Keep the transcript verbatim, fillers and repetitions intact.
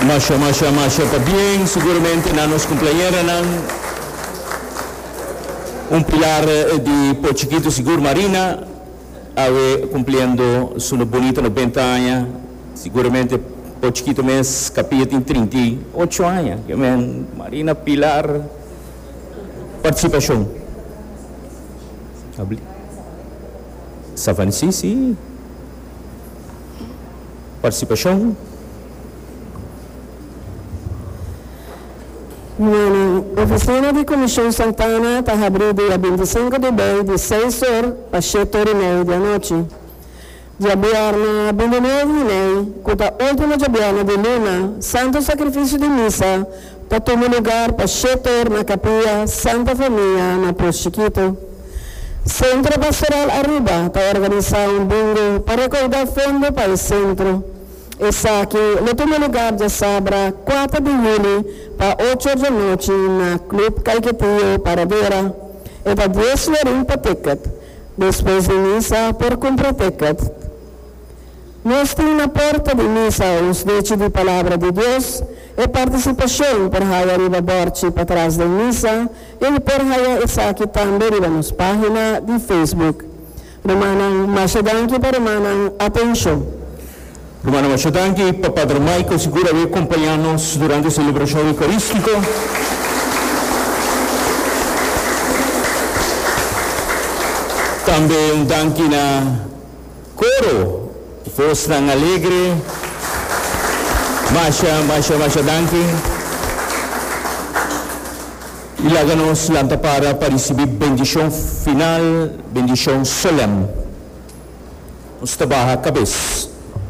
Masha, masha, masha pabien, seguramente na nos cumpleañeranan. Un pilar di Pos Chikito sigur Marina, awe cumpliendo su bunita nobenta aña. Seguramente Pos Chikito mes capilla tin trinta i ocho aña. Men, Marina Pilar, participacion. Savani, si, si. Participacion. Bueno, oficina di Comision Santana ta habri dia binticinco di mei di seis or pa shete or y mei di anochi. Diabierna bintinuebe di mei, cu ta ultimo diabierna di luna, Santo Sacrificio di Misa ta tuma lugar pa shete or na Capilla Santa Famia na Pos Chikito. Centro Pastoral Aruba ta organisa un bingo pa recauda fondo pa e centro. Esaki lo tuma lugar diasabra cuater di juli pa ocho or di anochi na Club Caiquetio Paradera. E ta dies florin pa ticket. Despues di misa por cumpra ticket. Nos tin na porta di misa un snechi di Palabra di Dios. E participacion por haya riba borchi patras den misa y por haya esaki tambe riba nos pagina di Facebook. Rumannan, masha danki pa rumannan atencion. Rumannan, masha danki pa Padre Michael, sigur a acompaña nos durante e celebracion eucarístico. Tambe un danki na coro, Voznan Alegre. Masha, masha, masha danki. Y laga nos lanta para pa ricibi bendicion final, bendicion solem. Nos ta baha cabes.